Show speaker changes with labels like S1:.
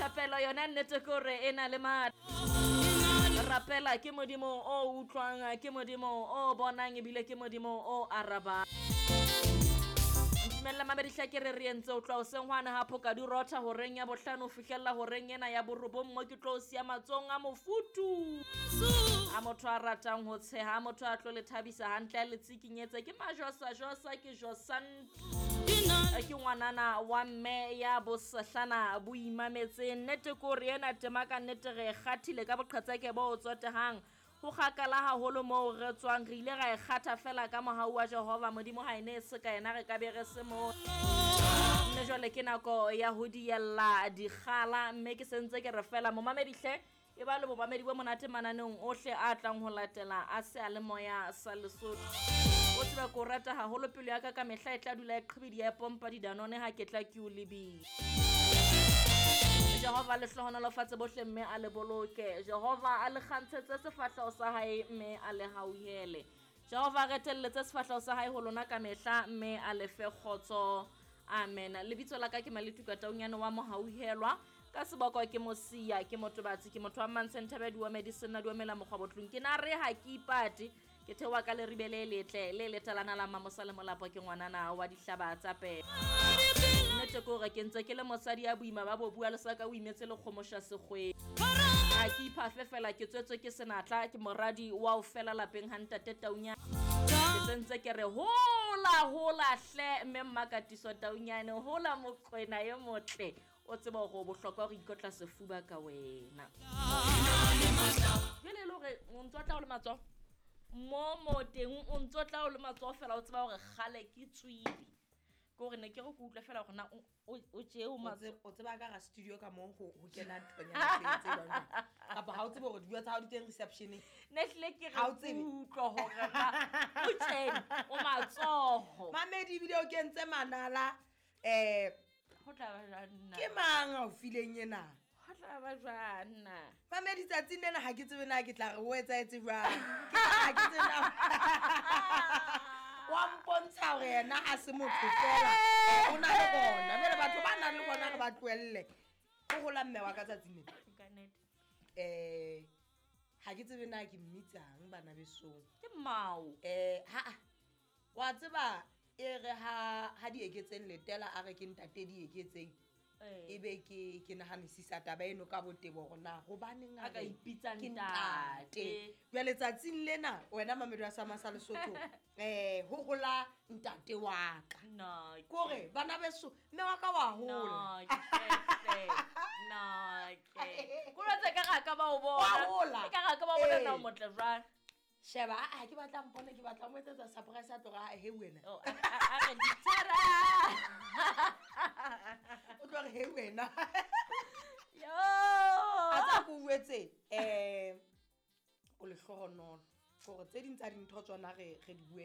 S1: Thapelo yona nnete ke hore e na le matla. Rapela ke Modimo o utlwang, ke Modimo o bonang ebile ke Modimo o arabang. Ntumella mamedi ke re re entse o tloha hoseng hwane ha phoka di rotha horeng ya bohlano ho fihlella horeng ena ya borobong mo ke tlo o siya matsohong a mofuthu. A motho a ratang ho tsheha, a motho a tlo le thabisa hantle a le tsikinyetse ke majosa-josa ke josan ke ngwanana wa mme ya bosehlana bo imametseng. Nnete ke hore ena tema ka nnete re e kgathile ka boqhetseke bo tsotehang. Ho kgakala haholo moo re tswang, re ile ra e kgatha fela ka mohau wa Jehova. Modimo ha e ne e se ka yena re ka be re se moo. Mme jwale ke nako ya ho diella dikgala, mme ke sentse ke re fela momamedi hle e ba le bomamedi bo monate mananeong ohle a tlang ho latela a seyalemoya sa Lesotho. O tsebe ke o rata haholo, pelo ya ka ka mehla e tla dula e qhibidi ya e pompa didanone ha ke tla ke o lebile. Jehova le hlohonolofatse bohle mme a le boloke. Jehova a le kgantshetse sefahleho sa hae mme a le hauhele. Jehova a retelletse sefahleho sa hae ho lona ka mehla mme a le fe kgotso. Amen. Lebitso la ka ke Maletuka Taunyane wa Mohauhelwa. Ka seboko ke Mosia, ke motobatsi, ke motho wa Mmantshe Thabe Diome di senna diomela mokgwa botlong. Ke na re ha ke ipate. Ke theoha ka leribe le letle le letalana la Mamosa le Molapo, ke ngwanana wa dihlaba tsa pele. Nnete ke hore ke ntse ke le mosadi ya boima ba bo bua le sa ka o imetse le kgomosha sekgweng. Ha ke iphafe fela, ke tswetswe ke senatla, ke moradi wa o fela lapeng ha ntate Taunyane. Ke sentse ke re hola hola hle mme Mmakatiso Taunyane, hola mokwena e motle. O tseba hore o bohlokwa ho ikotla sefuba ka wena. Jwale e le hore o ntso tla o le matsoho mo mo teng, o ntso tla o le matsoho fela, o tseba hore kgale ke tswile. Ke hore ne ke re ke utlwe fela hore na o tje o matsoho.
S2: O tseba ka ga studio ka mo ho kena nthonyana tse jwang jwang. Kapa ha o tsebe hore dibuka tsa hao di teng reception-eng.
S1: Ne hlile ke re
S2: Ha o tsebe.
S1: utlwa hore na o tjena o matsoho.
S2: Mamedi ebile o kentse manala,
S1: Ho tla ba jwang na?
S2: Ke mang a o fileng ena?
S1: Ho tla ba jwang na?
S2: Mamedi tsatsing lena ha ke tsebe na ke tla re o etsahetse jwang. Ke ha ke tsebe na. Wa mpontsha hore yena ha se motho fela. O na le bona. Jwale batho ba nang le bona re ba tlohelle. Ho hola mme wa ka tsatsing lena.
S1: Ka nnete.
S2: Ha ke tsebe na ke mmitsang bana besong.
S1: Ke mmao.
S2: Ha, wa tseba e re ha di eketseng letela a re ke ntate di eketseng. Ebe ke nahanisisa taba eno ka botebo hore na hobaneng
S1: A ka
S2: re
S1: ipitsa
S2: ke
S1: ntate.
S2: ntate. Jwale tsatsing lena wena Mamedi wa Sama sa Lesotho, ho hola ntate wa ka.
S1: No,
S2: Ke hore bana beso mme wa ka wa hola.
S1: No, ke no, ke. Ko lwetse ka ga ka ba o bona.
S2: Wa hola.
S1: Ke ka ga ka ba o bona na o motle jwang.
S2: Sheba, a ke batla mpone, ke batla mo etsetsa surprise a tloga, he wena.
S1: Oh, a re dithara.
S2: O tlo re he wena.
S1: Yo.
S2: A tsa go buetse, o lehlohonolo. Gore tse ding tsa dintho tsona re di bue